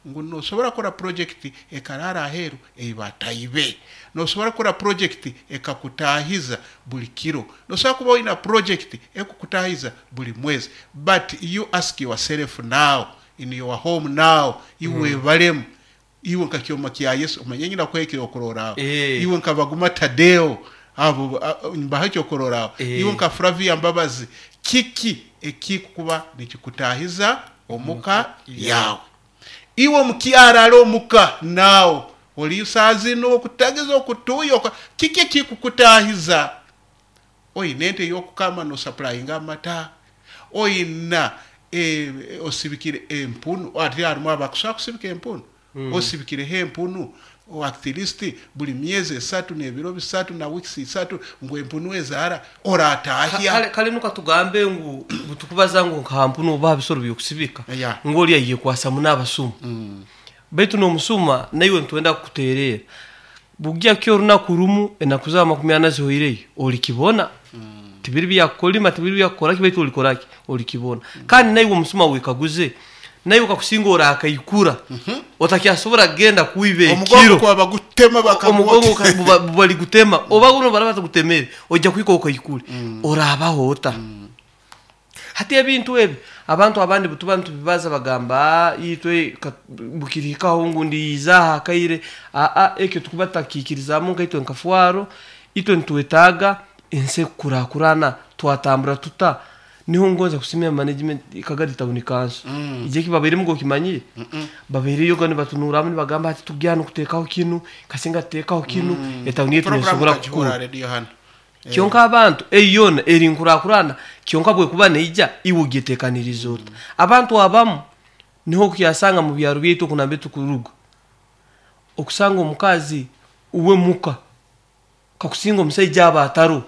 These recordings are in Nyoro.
Ngu nosobora kukora project ekarara aheru eibataibe, nosobora kukora project ekakutahiza buli kiro, nosobora kuba oina project ekukutahiza buli mwezi. But you ask yourself now, in your home now, iwe balemu, iwe nka Kyoma kya Yesu, omanye nyina kuha ekyokurorraho, iwe nka Baguma Tadeo, abo mbaha ekyokurorraho, iwe nka Flavia Mbabazi, kiki ekikuba nikikutahiza omuka yawe? Iwe omukyara ali omuka naawe oli saa zinu okutagiza okutuya, kiki ekikukutahiza? Oyina ente ey'okukama nosapulayinga amata, oyina osibikire empunu, ati harimu abakusobola kusibika empunu, osibikireho empunu at least buli myezi 3 n'ebiro 3 na weeks 3, ngu empunu ezaara oratahya. Kale nuka tugambe ngu butukubaza ngu nka mpunu oba bisoro byokusibika, ngu oli ayekwasa n'abasuma, baitu n'omusuma naiwe nitwenda kukuterera bugya kyo orunaku rumu, enaku zawe 40 zihoireyo, olikibona. Tibiri byakukolima, tibiri byakukoraki, baitu olikoraki? Olikibona. Kandi naiwe omusuma wekaguze, naiwe kakusinga orakaikura, otakyasobora kugenda kwiba ekiro. Bagutema. Omugongo bali gutema, oba guno baraba batagutemere, ojja kuhika okaikure, orabaho ota? Hati ebintu ebi abantu abandi butuba nitubibaza bagamba, itwe bukirihikaho ngu ndiizaho akaire aa ekyo tukuba tutakiikirizamu. Nkaitwe nka FARU, itwe nitwetaaga ensi ekukurakurana. Twatambura tuta? Niho ngonza kusimira management Kagadi Town Council. Ije kibabairemu gokimanyire, babaireyo ga nibatunuramu, nibagamba ati tugya nokutekaho kinu, kasinga tutekaho kinu, etawuni yetu nesobora kukura. Kyonka abantu eyo yona eri nkurakurana, kyonka bwekuba neija, iwe ogyetekaniriza ota? Abantu abamu niho okukyasanga mu byaro byaitu okunambe tukuruga, okusanga omukazi uwe muka, kakusinga omusaija aba ataro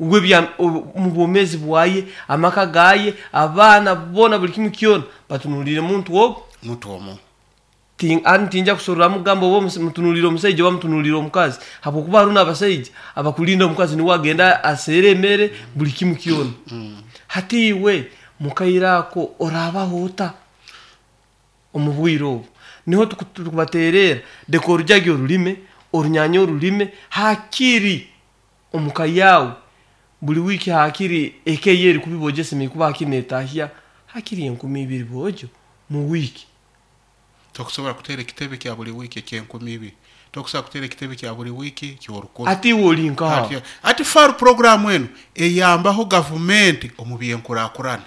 uwe mu bwomezi bwaye, amaka gaye, abaana bona, buli kimu kyona batunulire muntu ogu. Muntu omu. Ani tinja kusorora mugamba oba mutunulire omusaija oba mutunulire omukazi, habwokuba hariho n'abasaija abakulinda omukazi, niwe agenda aseera emere, buli kimu kyona. Hati iwe mukaire ako orabaho ota omu bwire obu? Niho tukubaterera, deka orujagi orulime, orunyanya orulime, hakiri omuka yawe buli wiiki, hakiri eka eyo eri kubi bojo esemeriire kuba hakiri netahya hakiri 2000 bojo mu wiiki. Tokusobola kutera ekitebe kya buli wiiki eky'enkumu 2, tokusobola kutera ekitebe kya buli wiiki ky'orukumi. Ati iwe oli nkaha? Ati FARU program enu eyambaho gavumenti omu byenkurakurana.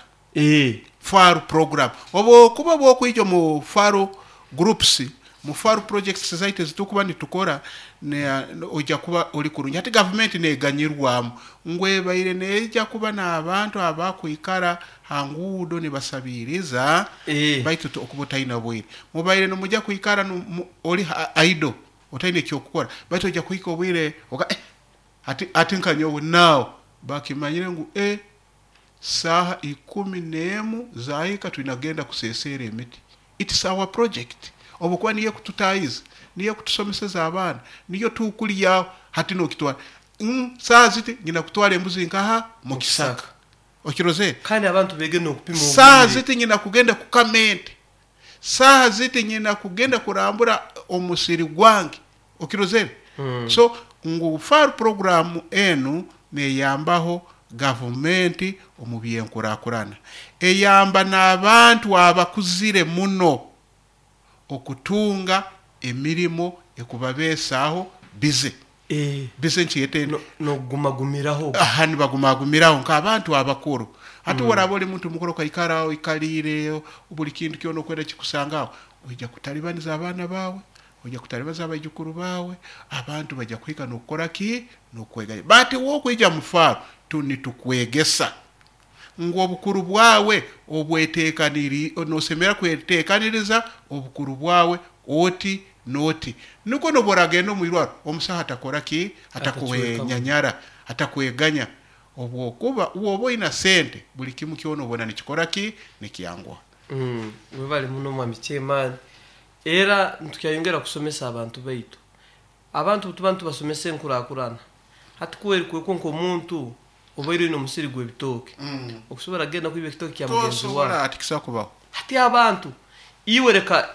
FARU program, obu bwokwija omu FARU groups, mu FARU projects zaitu ezitukuba nitukora, ojja kuba oli kurungi. Hati gavumenti neganyirwamu ngu ebaire neija kuba n'abantu abakwikara ha nguudo nibasabiriza, baitu okuba otaina bwire, mubaire nimujya kwikara oli idle, otaine ekyokukora, baitu ojja kuhika obwire ati nka nyowe naawe bakimanyire ngu saaha 11 zahika, twina kugenda kusesera emiti. It's our project, obukuba niyo ekututahiza, niyo ekutusomeseza abaana, niyo tukulyaho. Hati nokitwara, saaha ziti nyina kutwara embuzi nkaha mukisaka, okirozere? Kandi abantu bege n'okupima Saaha obwire. ziti nyina kugenda kukama ente, saaha ziti nyina kugenda kurambura omusiri gwange, okirozere? So ngu FARU program enu neyambaho gavumenti omu byenkurakurana, eyamba n'abantu abakuzire muno okutunga emirimo ekubabeesaho bize. Bize nkyete. N'okugumagumiraho. Aha nibagumagumiraho nk'abantu abakuru. Hati woraba oli muntu mukuru, okaikara oikaliire, buli kintu kyona okwenda kikusangaho, oija kutalibaniza abaana bawe, ojja kutalibaniza abaijukuru bawe, abantu bajja kuhika n'okukora ki? N'okweganya. Bati wokwija mu FARU, nitukwegesa ngu obukuru bwawe obwetekaniri, nosemera kwetekaniriza obukuru bwawe oti noti, nukwo nobu oragenda omu irwaro, omusaho atakora ki? Atakwenyanyara, atakweganya, obwokuba woba oina sente, buli kimu kyona obona nikikora ki? Nikyanguha. Webale muno, mwami chairman. Era ntukyayongera kusomesa abantu baitu. Abantu tuba nitubasomesa enkurakurana. Hati kweri kwekwo nk'omuntu obaire oine omusiri gw'ebitooke, okusobora kugenda kwiba ekitooke kya mugenzi Tosobora. wawe? Ati kisobola kubaho. Hati abantu iwe reka.